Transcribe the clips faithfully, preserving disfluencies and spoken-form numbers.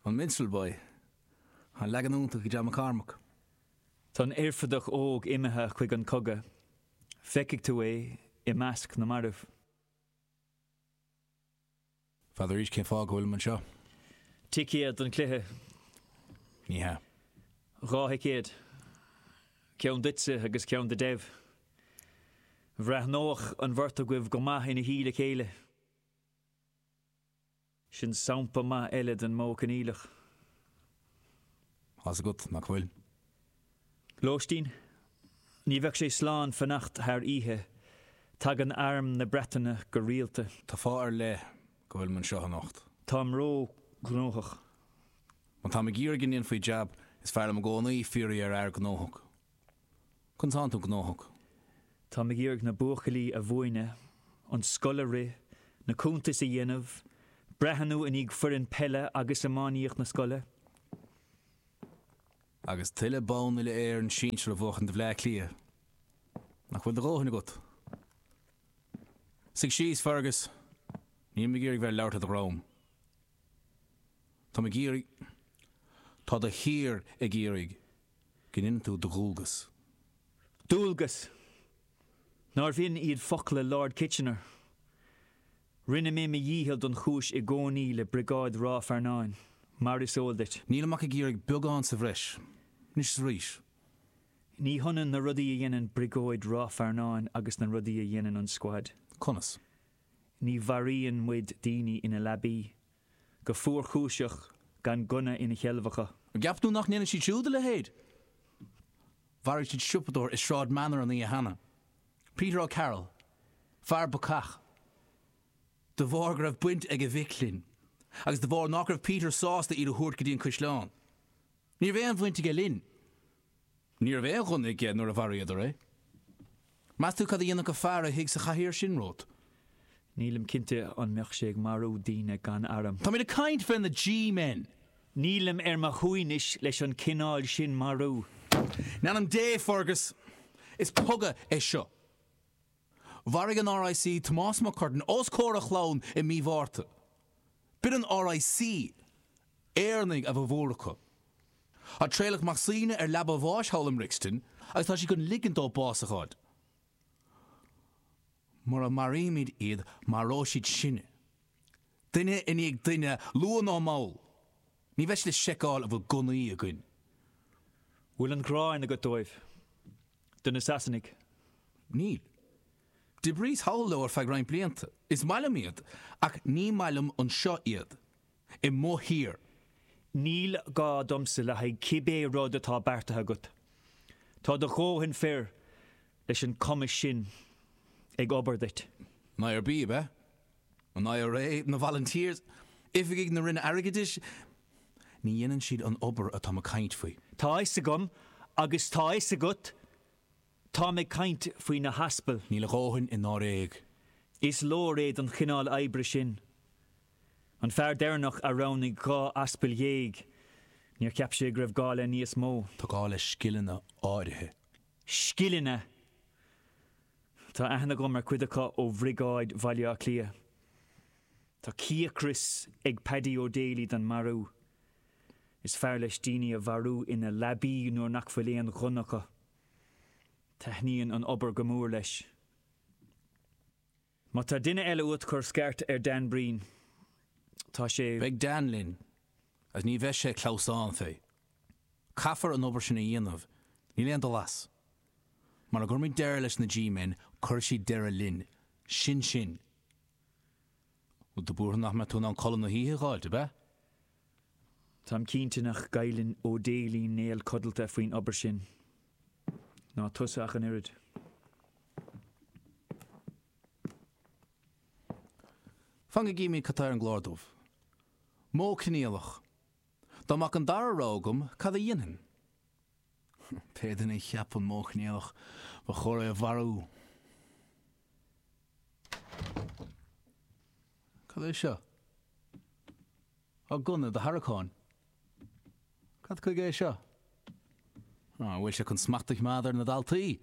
An Minstrel Boy. An leagan iontach ag John McCormack. Tá an Oirfideach óg imithe chuig an cogadh. Feicfidh tú é i measc na marbh. N'fheadar arís cén fáth go bhfuilim anseo. Ticéad don chluiche. Ní hea. Dhá thicéad. Ceann duitse agus ceann do Dev. Bhreathnódh an bheirt agaibh go maith ina shuí le chéile. Sin sampla maith eile den modh coinníollach. Tá's agat nach bhfuil. Lóistín? Ní bheadh sé slán fanacht thar oíche. Tagann arm na Breataine go rialta. Tá fáth ar leith go bhfuilim anseo anocht. Táim ró-ghnóthach. Má táim ag iarraidh go ndéanfaí jab, is fearr liom i gcónaí fiafraí ar fhear gnóthach. Conas tánn tú gnóthach? Táim ag iarraidh na buachaillí a mhúineadh, an scoil a rith, na cuntais a dhéanamh, breathnú i ndiaidh foireann peile agus iománaíocht na scoile. Agus tuilleadh bonn uile-Éireann sinsir a bhuachan do Bhleá Cliath. Nach bhfuil do dhóthain agat? Suigh síos, Fergus. Nílim ag iarraidh bheith ag labhairt ar do dhroim. Táim ag iarraidh, tá do thír ag iarraidh go ndéanann tú do dhualgas. Dualgas! Nárbh in iad focla Lord Kitchener? Rinne mé mo dhícheall don chúis i gcónaí le Briogáid Ráth Fearnáin, mar is eol duit. Nílim ach ag iarraidh beagán sa bhreis, anois is arís. Ní hionann na rudaí a dhéanann Briogáid Ráth Fearnáin agus na rudaí a dhéanann an Squad. Conas? Ní mharaíonn muid daoine ina leabaí, go fuarchúiseach, gan gunna ina sheilbh acu. An gceapann tú nach ndéanann siad siúd a leithéid? Mharaigh siad siopadóir i Sráid Manor an oíche cheana. Peter O'Carroll. Fear bacach. De bharr go raibh baint ag a mhic linn. Agus de bharr nach raibh Peter sásta iad a thabhairt go dtí an caisleán. Ní raibh aon bhaint aige linn. Ní raibh aon ghunna aige nuair a mharaíodar é. Meas tú cad a dhéanfadh an fear a shuigh sa chathaoir sin romhat? Nílim cinnte an mbeadh sé ag marú daoine gan arm. Táimid ag caint fé na G-men! Nílim ar mo shuaimhneas leis an cineál sin marú. In ainm Dé, Fergus! Is cogadh é seo. Mharaigh an R I C Tomás Mac Curtain os comhair a chlann i mí Mhárta. B'in an R I C! Éireannaigh a ba mhór acu. Tá Traolach Mac Suibhne ar leaba a bháis thall i mBrixton agus tá siad chun ligean dó bás a fháil. Mura maraímid iad, maróidh siad sinne. Duine i ndiaidh duine, luath nó mall. Ní bheidh siad ag seiceáil an bhfuil gunnaí againn. Bhfuil an ghráin agat dóibh? Do na Sasanaigh? Níl. D'oibríos thall leo ar feadh roinnt blianta. Is maith liom iad, ach ní maith liom anseo iad. I mo thír. Níl gá domsa le haghaidh cibé rud atá beartaithe agat. Tá do dhóthain fir leis an cumas sin ag obair duit. An I R B, ab ea? An I R A, na Volunteers, oifigigh na Roinne Airgeadais, ní dhéanann siad an obair atáim ag caint faoi. Tá a fhios agam, agus tá a fhios agat, táim ag caint faoi na haspail. Níl a dhóthain i ndáréag. Is leor é don chineál oibre sin. An fear deireanach a roghnaigh dhá aspal dhéag, níor cheap sé go raibh gá le níos mó. Tá gá le scileanna áirithe. Scileanna! Tá aithne agam ar chuid acu ó Bhriogáid Bhaile Átha Cliath. Tá cíocras ag Paddy O'Daly don marú. Is fearr leis daoine a mharú ina leabaí nuair nach bhfuil aon ghunna acu. Taitníonn an obair go mór leis. Má tá duine eile uait cuir scairt ar Dan Breen. Tá sé. Beidh Dan linn, agus ní bheidh sé ag clamhsán fé. Caithfear an obair sin a dhéanamh, níl aon dul as. Mura gcuirimid deireadh leis na G-men, cuirfidh siad deireadh linn. Sin sin. Bhfuil tú buartha nach mbeidh tú in ann codladh na hoíche a dh'fháilt, ab ea? Táim cinnte nach gcailleann O'Daly néal codlata faoin obair sin. Ná tusa ach an oiread. Fan go gcímid cad tá ar an gclár dubh. Modh coinníollach. Dá mbeadh an dara rogha agam, cad a dhéanfainn? Pé duine a cheap an modh coinníollach, ba chóir é a mharú. Cad é seo? Tá gunna i do tharraiceán. Cad chuige é seo? An bhfuil sé chun smacht a choimeád ar na daltaí?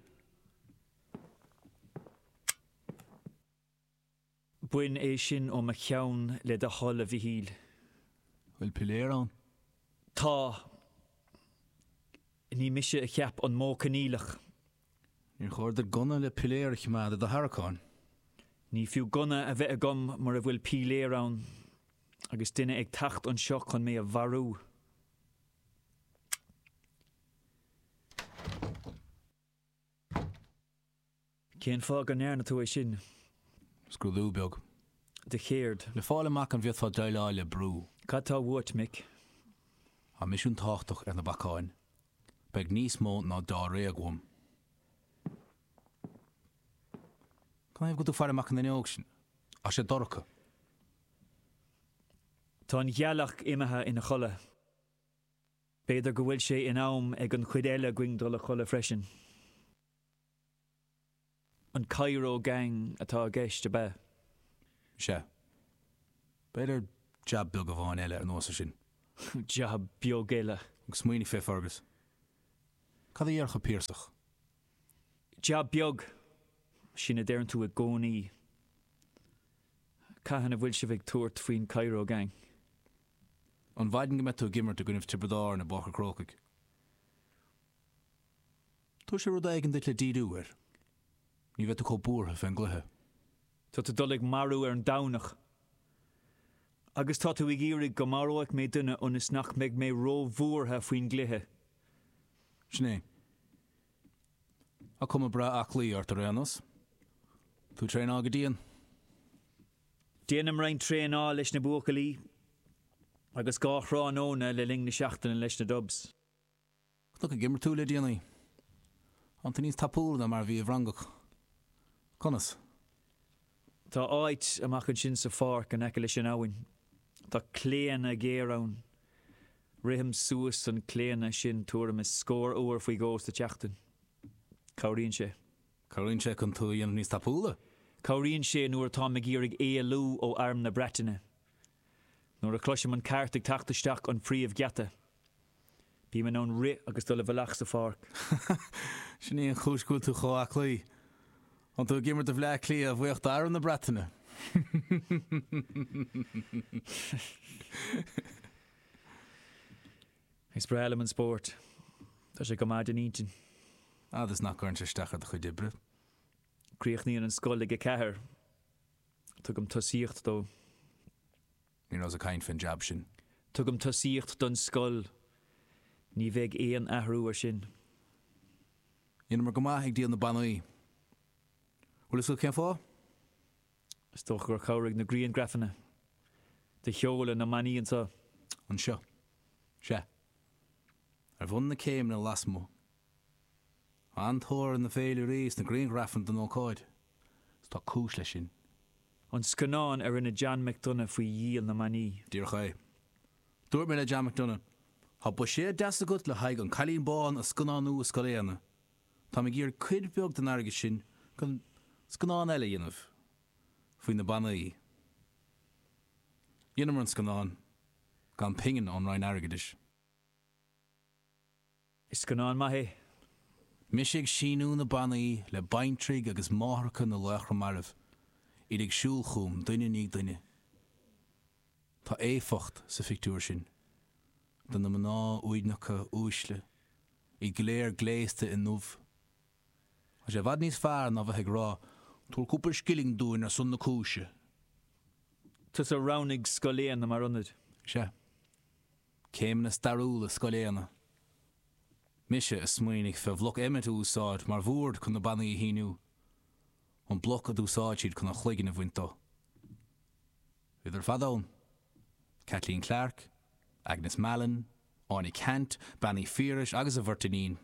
Bain é sin ó mo cheann le do thoil, a Mhichíl. Bhfuil piléar ann? Tá. Ní mise a cheap an modh coinníollach. Níor chóir duit gunna le piléar a choimeád i do tharraiceán. Ní fiú gunna a bheith agam mura bhfuil piléar ann, agus duine ag teacht anseo chun mé a mharú. Cén fáth go ndearna tú é sin? Scrúdú beag. De chéard? Le fáil amach an bhféadfá déileáil le brú. Cad tá uait, Mick? Tá misiún tábhachtach ar na bacáin. Beidh níos mó ná dáréag uaim. Canathaobh go bhfuil tú ag faire amach an fhuinneog sin? Tá sé dorcha. Tá an ghealach imithe ina chodladh. B'fhéidir go bhfuil sé in am ag an chuid eile againn dul a chodladh freisin. An Cairo Gang atá i gceist, ab ea? Sea. B'fhéidir jab beag amháin eile anuas air sin. Jab beag eile. Agus smaoinigh fé Fergus. Cad a dhéarfadh an Piarsach? Jab beag! Sin a deireann tú i gcónaí. Cathain a bhfuil sibh ag tabhairt faoin Cairo Gang? An mhaidin go mbeidh tú ag imirt i gcoinnibh Tiobraid Árann i bPáirc an Chrócaigh. Tabharfaidh sé rud éigin duit le díriú air. Ní bheidh tú chomh buartha fén gcluiche. Tá tú dul ag marú ar an Domhnach. Agus tá tú ag iarraidh go maróidh mé duine ionas nach mbeidh mé róbhuartha faoin gcluiche. Sin é. Tá cuma breá aclaí ort ar aon nós. Tú ag traenáil go dian. Déanaim roinnt traenáil leis na buachaillí agus dhá thráthnóna le linn na seachtaine leis na Dubs. Chonac ag imirt tú le déanaí. Tá tú níos tapúla ná mar a bhí i bhFrangoch. Conas? Tá áit amach ansin sa pháirc in aice leis an abhainn. Tá claonadh géar ann. Rithim suas an claonadh sin tuairim is scór uair faoi dhó sa tseachtain. Cabhraíonn sé. Cabhraíonn sé chun tú a dhéanamh níos tapúla? Cabhraíonn sé nuair atáim ag iarraidh éalú ó Arm na Breataine. Nuair a chloisim an cairt ag teacht isteach an phríomhgheata, bím in ann rith agus dul i bhfolach sa pháirc. Sin í an chúis go bhfuil tú chomh aclaí. Tá tú ag imirt do Bhleá Cliath a bhuíoch d'Arm na Breataine. Is breá liom an spórt. Tá sé go maith don intinn. Fhad is nach gcuireann sé isteach ar do chuid oibre. Críochnaíonn an scoil ag a ceathair. Tugaim tosaíocht dó. Ní rabhas ag caint fén jab sin. Tugaim tosaíocht don scoil. Ní bheidh aon athrú air sin. Dheineamar go maith ag díol na bannaí. Bhfuil fhios agat cén fáth? Is dócha gur chabhraigh na grianghrafanna de sheoladh na mbannaí anseo. Anseo. Sea. Ar bhun na céimeanna lasmuigh. Tá an-tóir ar na féilirí is na grianghrafanna den ócáid. Is tá cúis leis sin. An scannán a rinne John McDonagh faoi dhíol na mbannaí. Díreach é. Dúirt mé le John McDonagh, Tá buiséad deas agat le haghaidh An Cailín Bán a scannánú i Scoil Éanna. Táim ag iarraidh cuid bheag den airgead sin chun scannán eile a dhéanamh faoi na bannaí. Dheineamar an scannán, gan pingin ón Roinn Airgeadais. Is scannán maith é. Mise ag síniú na bannaí le baintrí agus máithreacha na laochra marbh, iad ag siúl chugam duine i ndiaidh duine. Tá éifeacht sa phictiúr sin, de na mná uaigneacha uaisle, iad go léir gléasta i ndubh. Tá sé i bhfad níos fearr ná bheith ag rá, Tabhair cúpla scilling dúinn ar son na cúise. Tusa a roghnaigh Scoil Éanna mar ionad. Sea. Céimeanna stairiúla Scoil Éanna. Mise a smaoinigh fé bhloc Emmet a úsáid mar bhord chun na bannaí a shíniú. An bloc a d'úsáid siad chun a chloigeann a bhaint dó. Bhíodar ar fad ann. Kathleen Clarke, Agnes Mallon, Áine Ceannt, Bean Uí Phiarais agus a bheirt iníon.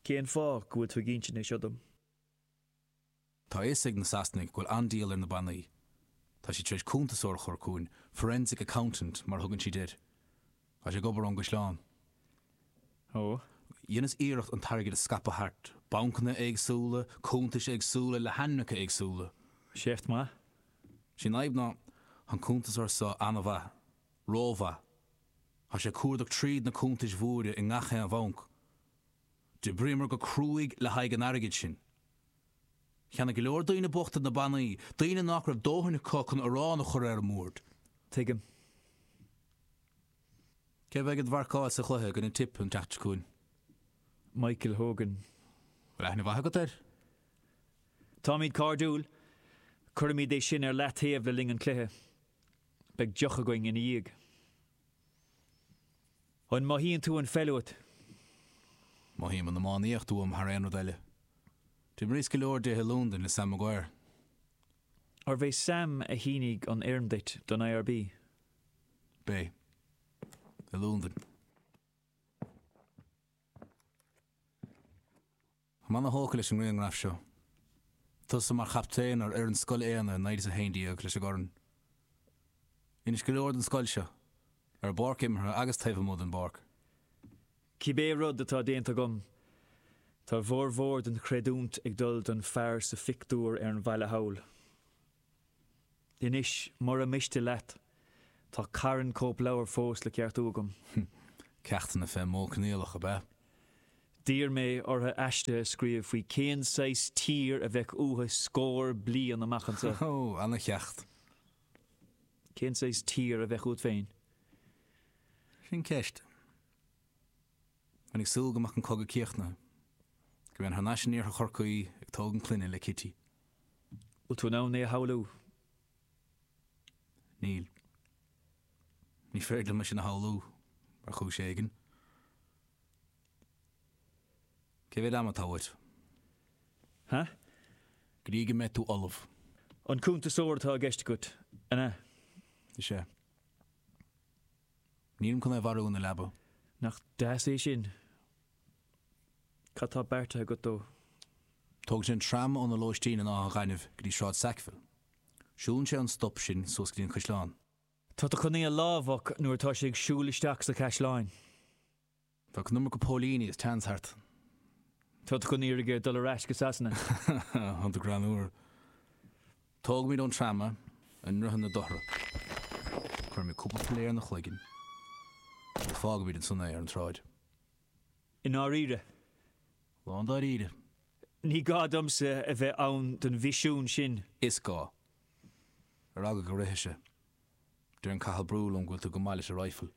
Cén fáth go bhfuil tú ag insint é seo dom? Tá a fhios ag na Sasanaigh go bhfuil an-díol ar na bannaí. Tá siad tar éis cuntasóir a chur chugainn, forensic accountant mar a thugann siad air. Tá sé ag obair ón gcaisleán. Ó. Dheineas iarracht an t-airgead a scaipeadh thart, bancanna éagsúla, cuntais éagsúla le hainmneacha éagsúla. Seift maith. Sé an fhadhb ná, tá an cuntasóir seo an-mhaith. Rómhaith. Tá sé ag cuardach tríd na cuntais mhóra i ngach aon bhanc. D'oibríomar go cruaidh le haghaidh an airgid sin. Cheannaigh go leor daoine bochta na bannaí, daoine nach raibh dóthain acu chun arán a chur ar an mbord. Tuigim. Cé bheidh ag marcáil sa chluiche i gcoinne Tipp an tseachtain seo chugainn? Michael Hogan. Bhfuil aithne mhaith agat air? Táimid cairdiúil. Cuirimid é sin ar leataobh le linn an chluiche. Beidh deoch againn ina dhiaidh. An mothaíonn tú an pheil uait? Mothaím an iománaíocht uaim thar aon rud eile. D'imríos go leor di i Londain le Sam Maguire. Arbh é Sam a shínigh an fhoirm duit don I R B? B'é. I Londain. Táim an-thógtha leis an ngrianghraf seo. Tusa mar chaptaen ar fhoireann Scoil Éanna i naoi déag a haon déag leis an gcorn. Dheinis go leor don scoil seo, ar an bpáirc imeartha agus taobh amuigh den bpáirc. Cibé rud atá déanta agam, tá formhór den chreidiúint ag dul don fear sa phictiúr ar an bhalla thall. Anois, mura miste leat, tá carn cóipleabhar fós le ceartú agam. Ceachtanna fén modh coinníollach, ab ea? D'iarr mé orthu aiste a scríobh faoi cén saghas tír a bheadh uathu scór bliain amach anseo. Ó, ana-cheacht. Cén saghas tír a bheadh uait féin? Sin ceist. Bheinn ag súil go mbeadh an cogadh críochnaithe. Go mbeinn thar n-ais in iarthar Chorcaí ag tógaint clainne le Kitty. Bhfuil tú in ann é a shamhlú? Níl. Ní féidir liom é sin a shamhlú, ar chúis éigin. Cé mhéad ama atá uait? Ha? Go dtí go mbeidh tú ullamh. An cuntasóir atá i gceist agat, an ea? Is ea. Nílim chun é a mharú ina leaba. Nach deas é sin? Cad tá beartaithe agat dó? Tógann sé an tram óna lóistín in Áth an Ghainimh go dtí Sráid Sackville. Siúlann sé an stop sin suas go dtí an caisleán. Tá tú chun é a lámhach nuair atá sé ag siúl isteach sa chaisleán. Bheadh an iomarca póilíní agus teannas thart. Tá tú chun iarraidh air dul ar ais go Sasana. Tá tú greannmhar. Tógaimid ón tram é i nDroichead na Dothra. Cuirimid cúpla piléar ina chloigeann. Agus fágaimid ansan é ar an tsráid. I ndáiríre. Lándáiríre. Ní gá domsa a bheith ann don mhisiún sin. Is gá. Ar eagla go rithfeadh sé. Deireann Cathal Brugha liom go bhfuil tú go maith leis an rifle.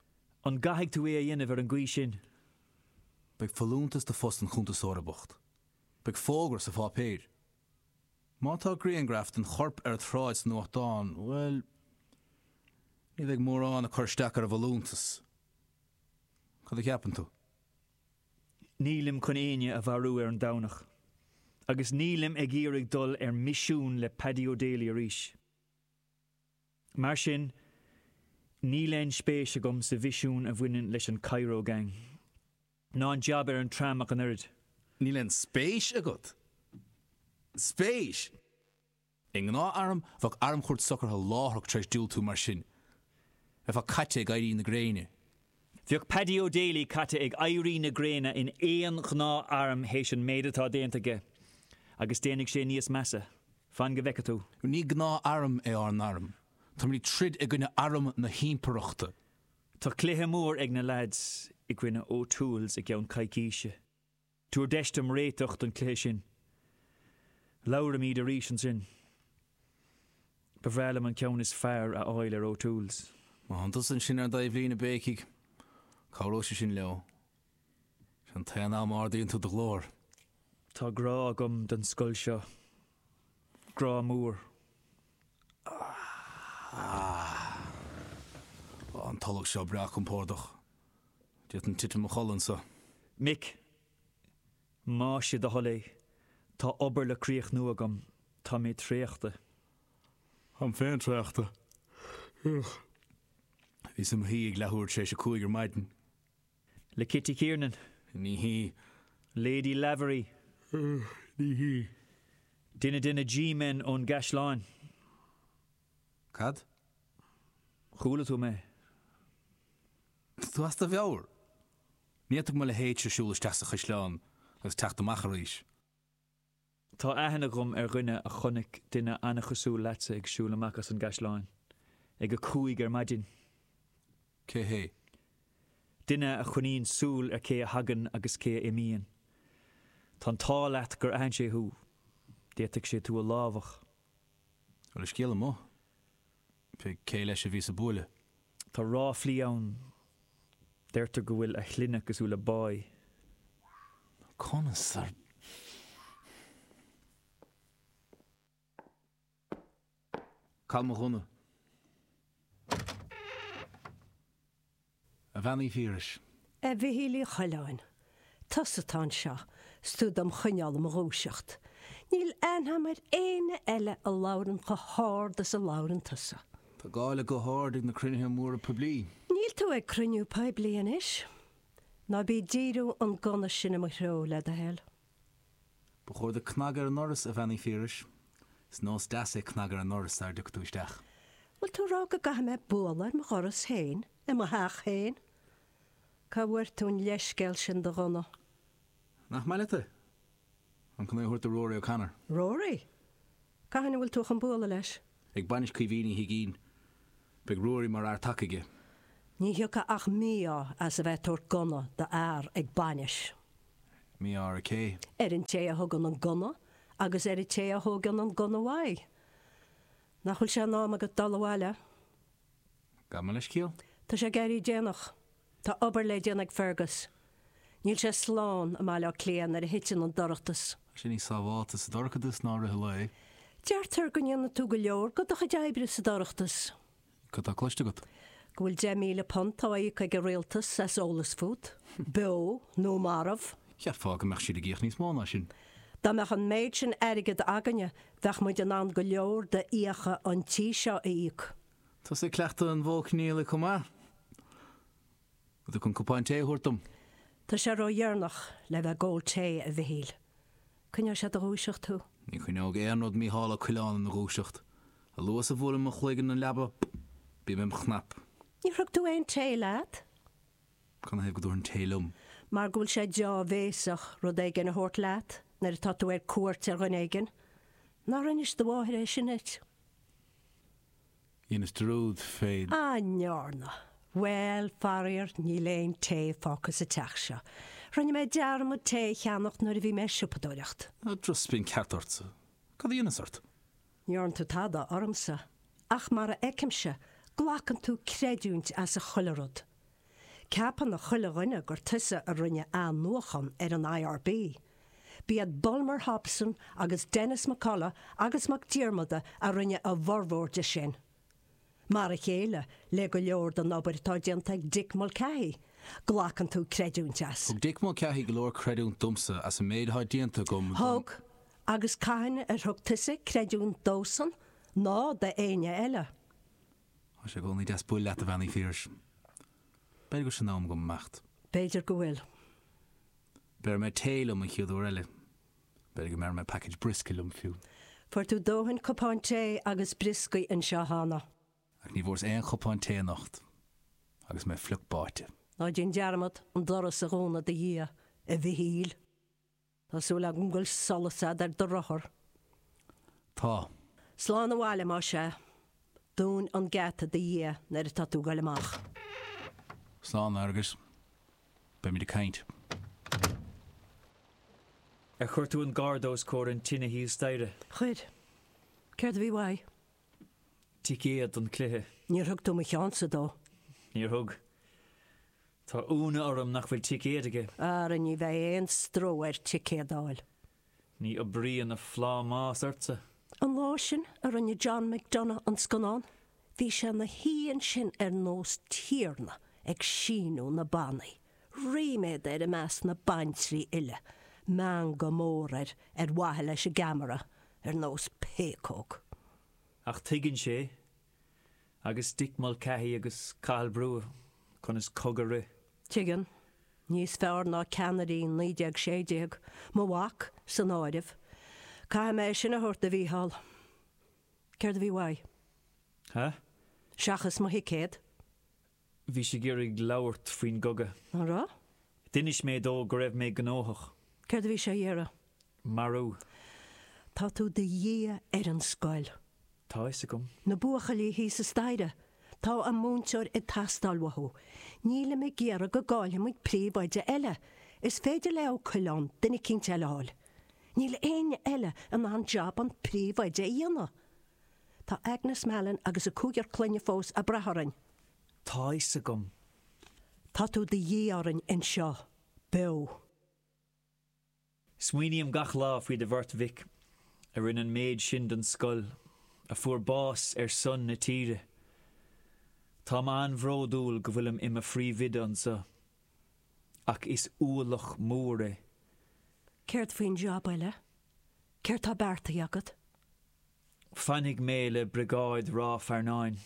An gcaithfidh tú é a dhéanamh ar an gcaoi sin? Beidh folúntas do phost an chuntasóra bocht. Beidh fógra sa pháipéar. Má tá grianghraf den chorp ar an tsráid sa nuachtán, bhuel, ní bheidh mórán ag cur isteach ar an bhfolúntas. Cad a cheapann tú? Nílim chun éinne a mharú ar an Domhnach. Agus nílim ag iarraidh dul ar misiún le Paddy O'Daly arís. Mar sin, níl aon spéis agam sa mhisiún a bhaineann leis an Cairo Gang. Ná an jab ar an tram ach an oiread. Níl aon spéis agat? Spéis? I ngnáth-arm bheadh armchúirt socraithe láithreach tar éis diúltú mar sin. Bheifeá caite ag éirí na gréine. Bheadh Paddy O'Daly caite ag éirí na gréine in aon ghnáth-arm théis an méid atá déanta aige, agus déanfaidh sé níos measa. Fan go bhfeice tú. Ní gnáth-arm é ár n-arm. Táimid ag troid i gcoinne arm na himpireachta. Tá cluiche mór ag na lads i gcoinne O'Toole's i gceann coicíse. Tabhair deis dom réiteach don chluiche sin. Labhraímid arís ansin. Ba bhreá liom an ceann is fearr a fháil ar O'Toole's. Má tá tusa ansin ar an dtaobhlíne a bhéicigh, cabhróidh sé sin leo. Sin an t-aon am a ardaíonn tú do ghlór. Tá grá agam don scoil seo. Grá mór. Tá an tolg seo breá compordach. D'fhéadfainn titim i mo chodladh anseo. Mick, más é do thoil é, tá obair le críochnú agam, tá mé traochta. Táim féin traochta. Bhíos i mo shuí ag leathuair tar éis a cúig ar maidin. Le Kitty Kiernan. Ní hí. Lady Lavery. Ní hí. Duine de na G-men ón gcaisleán. Cad? Chuala tú mé. Tá tú as do mheabhair. Ní fhéadfadh mo leithéidse siúl isteach sa chaisleán agus teacht amach arís. Tá aithne agam ar dhuine a chonaic duine an-chosúil leatsa ag siúl amach as an gcaisleán. Ag a cúig ar maidin. Cé hé? Duine a choinníonn súil ar cé a thagann agus cé a imíonn. Tá an t-ádh leat gur aithin sé thú. D'fhéadfadh sé tú a lámhach. Bhfuil an scéal amuigh? Pé cé leis a bhí sa bhuaile? Tá ráflaí ann. Deirtear go bhfuil a shloinne cosúil le boy. Conas ar. Cá bhfuil mo ghunna? A Bhean Uí Phiarais. A Mhichíl Uí Choileáin, tusa atá anseo, 's tú dom choinneáil i mo dhúiseacht. Níl aithne agam ar éinne eile a labhrann chomh hard is a labhrann tusa. Tá gá le guth ard ag na cruinnithe móra poiblí. Níl tú ag cruinniú poiblí anois. Ná bí ag díriú an gunna sin i mo threo, le do thoil. Ba chóir duit cnagadh ar an ndoras, a Bhean Uí Phiarais. Is nós deas é cnagadh ar an ndoras sara dtiocfaidh tú isteach. Bhfuil tú ag rá go gcaithfidh mé bualadh ar mo dhoras féin, i mo theach féin? Cá bhfuair tú an leithscéal sin do ghunna? Nach maith leat é? Táim chun é a thabhairt do Rory O'Connor. Rory? Cathain a bhfuil tú chun bualadh leis? Ag bainis Caoimhín Uí Huigínn. Beidh Ruairí mar fhear taca aige. Ní thiocfadh ach mí-ádh as a bheith ag tabhairt gunna do fhear ag bainis. Mí-ádh ar cé? Ar an té a thugann an gunna agus ar an té a thógann an gunna uaidh. Nach bhfuil sé in am agat dul abhaile? Gabh mo leithscéal. Tá sé ag éirí déanach. Tá obair le déanamh ag Fergus. Níl sé slán i mBaile Átha Cliath nuair a thiteann an dorchadas. Tá sé níos sábháilte sa dorchadas ná i rith an lae. Deirtear go ndéanann tú go leor de do chuid oibre sa dorchadas. Cad tá cloiste agat? Go bhfuil deich míle punt á íoc ag an rialtas as eolas fút, beo nó marbh. Cheapfá go mbeadh siad ag íoc níos mó ná sin. Dá mbeadh an méid sin airgid againne, bheadh muid in ann go leor d'fhiacha an tí seo a íoc. Tusa ag cleachtadh an mhodh coinníollaigh chomh maith. Bhfuil tú chun cupán tae a thabhairt dom? Tá sé ródheireanach le bheith ag ól tae, a Mhichíl. Coinneoidh sé i do dhúiseacht thú. Ní choinneoidh aon rud Mícheál Ó Coileáin ina dhúiseacht. A luaithe is a bhuaileann mo chloigeann an leaba, bím im chnap. Níor thug tú aon tae leat? Canathaobh go dtabharfainn tae liom? Mar go bhfuil sé deá-bhéasach rud éigin a thabhairt leat nuair atá tú ar cuairt ar dhuine éigin. Nár inis do mháthair é sin duit? Dheineas dearúd fé. An ndearna? Bhuel, faraor, níl aon tae fágtha sa teach seo. Rinne mé dearmad tae a cheannacht nuair a bhí mé ag siopadóireacht. Tá drochspionn ceart ortsa. Cad a dheineas ort? Ní dhearna tú tada ormsa. Ach mar a fheicimse, glacann tú creidiúint as chuile rud. Ceapann chuile dhuine gur tusa a rinne athnuachan ar an I R B. B'iad Bulmer Hobson agus Denis McCullough agus Mac Diarmada a rinne a bhformhór de sin. Mar a chéile le go leor den obair atá déanta ag Dick Mulcahy, glacann tú creidiúint as. Thug Dick Mulcahy go leor creidiúint domsa as an méid atá déanta agam don. Thug, agus cathain ar thug tusa creidiúint dósan ná d'éinne eile? Tá sé i gcónaí deas bualadh leat, a Bhean Uí Phiarais. B'fhéidir go bhfuil sé in am agam imeacht. B'fhéidir go bhfuil. Béarfaidh mé tae liom an chéad uair eile. B'fhéidir go mbearfaidh mé package briosca liom fiú. Fuair tú dóthain cupán tae agus brioscaí anseo cheana. Ach ní bhfuaireas aon chupán tae anocht, agus mé fliuch báite. Ná déan dearmad an doras a dhúnadh i do dhiaidh, a Mhichíl. Tá súil agam go bhfuil solas a'd ar do rothar. Tá. Slán abhaile, más ea. Dún an geata i do dhiaidh nuair atá tú ag goil amach. Slán, a Fhearghuis. Beimid ag caint. Ar chuir tú an garda os comhair an tine thíos staighre? Chuir. Céard a bhí uaidh? Ticéad don chluiche. Níor thug tú mo cheannsa dó. Níor thug. Tá ionadh orm nach bhfuil ticéad aige. Ara ní bheidh aon stró air ticéad a fháil. Ní oibríonn a phlámás ortsa. An lá sin a rinne John McDonagh an scannán, bhí sé ina shuí ansin ar nós tiarna ag síniú na bannaí. Ríméad air i measc na baintrí uile, meangadh mór air ar mhaithe leis an gceamara, ar nós péacóg. Ach tuigeann sé, agus Dick Mulcahy agus Cathal Brugha, conas cogadh a rith. Tuigeann. Níos fearr ná ceannairí naoi déag sé déag, mo mhac san áireamh. Caithfidh mé é sin a thabhairt do Mhícheál. Céard a bhí uaidh? Há? Seachas mo thicéad. Bhí sé ag iarraidh labhairt faoin gcogadh. An raibh? D'inis mé dó go raibh mé gnóthach. Céard a bhí sé a iarraidh? Marú. Tá tú de dhíth ar an scoil. Tá fhios agam. Na buachaillí thíos sa staighre. Tá a múinteoir ag teastáil uathu. Nílim ag iarraidh go gcaillfidh muid príomhoide eile. Is féidir le Ó Coileáin duine eicínt eile a fháil. Níl éinne eile in ann jab an phríomhoide a dhéanamh. Tá Agnes Mallon agus a cúigear clainne fós ag brath orainn. Tá fhios agam. Tá tú de dhíth orainn anseo, beo. Smaoiním gach lá faoi do bheirt mhic, a rinne an méid sin don scoil, a fuair bás ar son na tíre. Táim an-bhródúil go bhfuilim i mo phríomhoide anseo. Ach is ualach mór é. Céard faoin job eile? Céard tá beartaithe agat? Fanfaidh mé le Briogáid Ráth Fearnáin.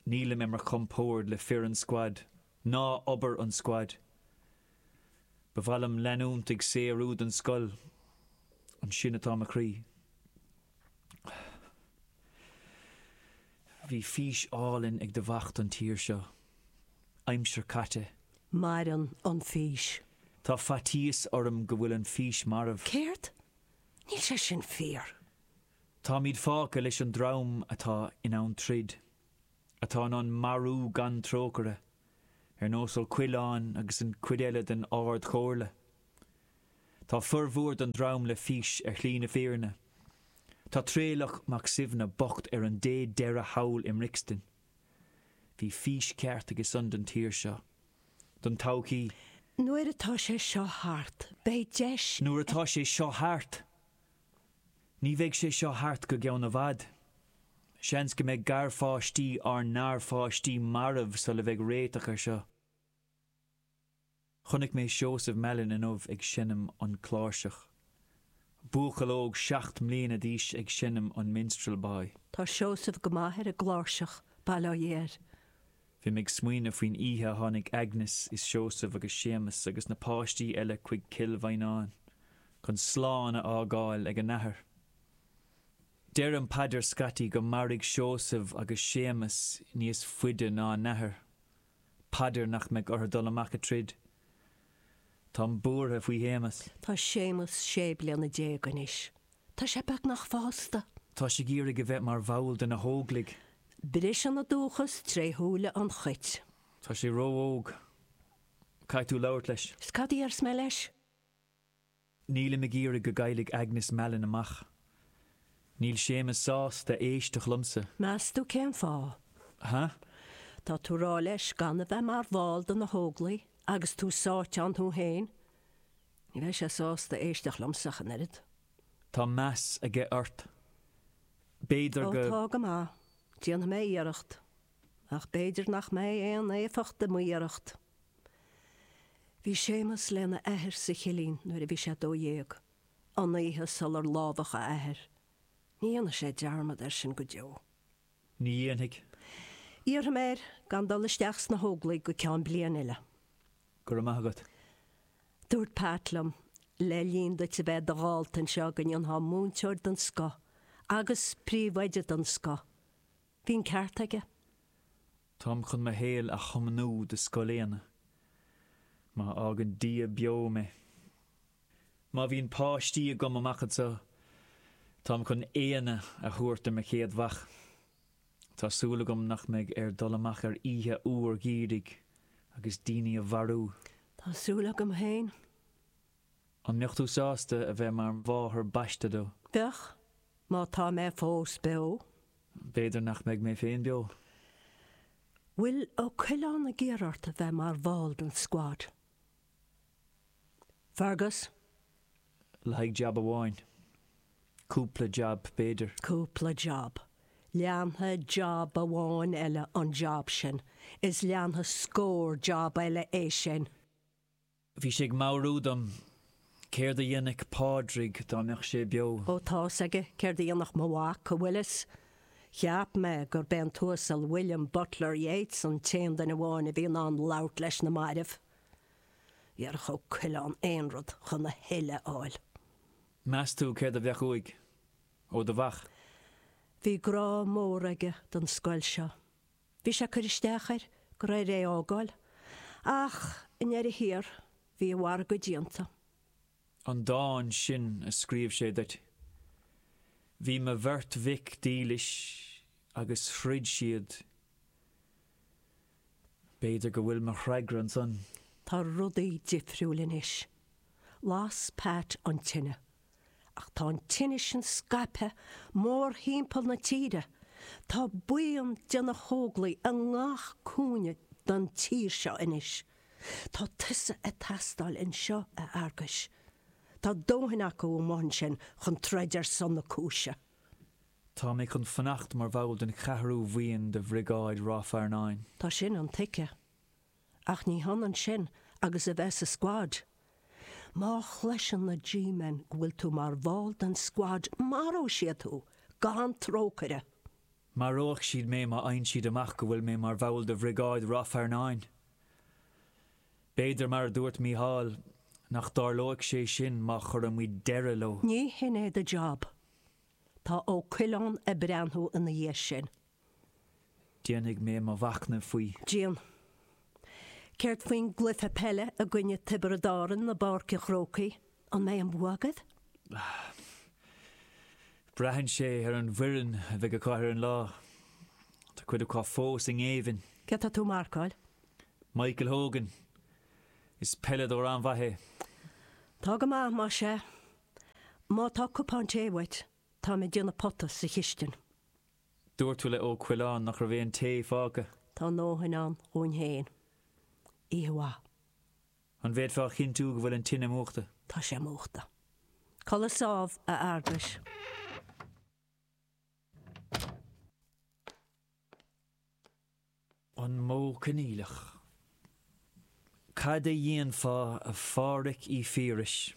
Nílim ar mo chompord le fir an squad, ná obair an squad. Ba mhaith liom leanúint ag saothrú don scoil, ansin atá mo chroí. Bhí fís álainn ag do mhac don tír seo. Aimsir caite. Maireann an fís. Tá faitíos orm go bhfuil an fís marbh. Céard? Níl sé sin fíor. Táimid fágtha leis an dream atá in ann troid, atá in ann marú gan trócaire, ar nós Ó Coileáin agus an chuid eile den Ard-Chomhairle. Tá formhór den dream le fís ar shlí na fírinne. Tá Traolach Mac Suibhne bocht ar an dé deireadh thall i mBrixton. Bhí fís ceart aige san don tír seo. Don todhchaí. Nuair atá sé seo thart, beidh deis. Nuair atá sé seo thart? Ní bheidh sé seo thart go gceann i bhfad. Seans go mbeidh garpháistí ár ngarpháistí marbh sula bheidh réiteach air seo. Chonaic mé Seosamh Mallon inniu ag seinm an chláirseach. Buachaill óg seacht mbliana d'aois ag seinm an Minstrel Boy. Tá Seosamh go maith ar an gcláirseach, bail ó Dhia air. Bhí mé ag smaoineamh faoin oíche a tháinig Agnes is Seosamh agus Séamus agus na páistí eile chuig Cill Mhaighneáin chun slán a fhágáil ag a n-athair. Deireann Peadar scaití go mairfidh Seosamh agus Séamus níos faide ná a n-athair, paidir nach mbeidh orthu dul amach ag troid. Táim buartha faoi Shéamus. Tá Séamus sé bliana déag anois. Tá sé beagnach fásta. Tá sé ag iarraidh a bheith mar bhall de na hÓglaigh. Briseann an dóchas tré shúile an chait. Tá sé ró-óg. Caithfidh tú labhairt leis. Is cad a déarfas mé leis? Nílim ag iarraidh go gcaillfidh Agnes Mallon amach. Níl Séamus sásta éisteacht liomsa. Meas tú cén fáth? Ha? Tá tú ag rá leis gan a bheith mar bhall de na hÓglaigh agus tú sáite ann thú féin. Ní bheidh sé sásta éisteacht liomsa ach an oiread. Tá meas aige ort. B'fhéidir Ó go. tá go maith. Déanfaidh mé iarracht. Ach b'fhéidir nach mbeidh aon éifeacht i m'iarracht. Bhí Séamus lena athair sa chillín nuair a bhí sé dó dhéag, an oíche sular lámhachadh a athair. Ní dhéanfaidh sé dearmad air sin go deo. Ní dhéanfaidh. Iarrfaidh mé air gan dul isteach sna hÓglaigh go ceann bliain eile. Go raibh maith agat. Dúirt Pat liom, le linn duit a bheith i do dhalta anseo go ndéanfá múinteoir den scoth agus príomhoide den scoth. Bhí an ceart aige. Táim chun mo shaol a thiomnú do Scoil Éanna. Má fhágann Dia beo mé. Má bhíonn páistí agam amach anseo, táim chun Éanna a thabhairt do mo chéad mhac. Tá súil agam nach mbeidh air dul amach ar oíche fhuar gheimhridh agus daoine a mharú. Tá súil agam féin. An mbeadh tú sásta a bheith mar mháthair baiste dó? Bheadh, má tá mé fós beo. B'fhéidir nach mbeidh mé féin beo. Bhfuil Ó Coileáin ag iarraidh ort a bheith mar bhall den squad? Fergus? Le haghaidh jab amháin. Cúpla jab, b'fhéidir. Cúpla jab. Leanfaidh jab amháin eile an jab sin, is leanfaidh scór jab eile é sin. Bhí sé ag meabhrú dom céard a dhéanfadh Pádraig dá mbeadh sé beo. Ó tá's aige céard a dhéanfadh mo mhac, an bhfuil fhios. Cheap mé gurb é an tUasal William Butler Yeats an t-aon duine amháin a bhí in ann labhairt leis na mairbh. Dhéarfadh Ó Coileáin aon rud chun a thuilleadh a fháil. Meas tú céard a bheadh uaidh? Ó do mhac? Bhí grá mór aige don scoil seo. Bhí sé ag cur isteach air go raibh air é a fhágáil. Ach i ndeireadh thiar, bhí a mhargadh déanta. An dán sin a scríobh sé duit. Bhí mo bheirt mhic dílis agus throid siad. B'fhéidir go bhfuil mo fhreagra ansan. Tá rudaí difriúil anois. Las Pat an tine. Ach tá an tine sin scaipthe mórthimpeall na tíre. Tá buíon de na hÓglaigh i ngach cúinne don tír seo anois. Tá tusa ag teastáil anseo, a Fhearghuis. Tá dóthain acu amuigh ansin chun troid ar son na cúise. Tá mé chun fanacht mar bhall den cheathrú bhuíon de Bhriogáid Ráth Fearnáin. Tá sin intuigthe. Ach ní hionann sin agus a bheith sa squad. Má chloiseann na G-men go bhfuil tú mar bhall den squad, maróidh siad thú, gan trócaire. Maróidh siad mé má fhaigheann siad amach go bhfuil mé mar bhall de Bhriogáid Ráth Fearnáin. B'fhéidir, mar a dúirt Mícheál, nach dtarlóidh sé sin má chuireann muid deireadh leo. Ní hin é do job. Tá Ó Coileáin ag breathnú ina dhiaidh sin. Déanfaidh mé mo mhachnamh faoi. Déan. Céard faoin gcluiche peile i gcoinne Tiobraid Árann i bPáirc an Chrócaigh? An mbeidh an bua agaibh? Braitheann sé ar an bhfoireann a bheidh acu ar an lá. Tá cuid acu fós i ngéibheann. Cé tá tú ag marcáil? Michael Hogan. Is peileadóir an-mhaith é. Tá go maith, más ea. Má tá cupán tae uait, táim ag déanamh pota sa chistin. Dúirt tú le Ó Coileáin nach raibh aon tae fágtha. Tá a ndóthain ann dhúinn féin. Oíche mhaith. An bhféadfá a chinntiú go bhfuil an tine múchta? Tá sé múchta. Codladh sámh, a Fhearghuis. An Modh Coinníollach. Cad a dhéanfá a Phádhraic Uí Phiarais?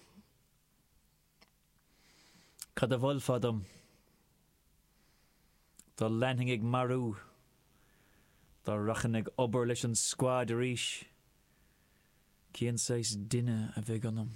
Cad a mholfá dom? Dá leanfainn ag marú? Dá rachainn ag obair leis an squad arís? Cén saghas duine a bheadh ionam?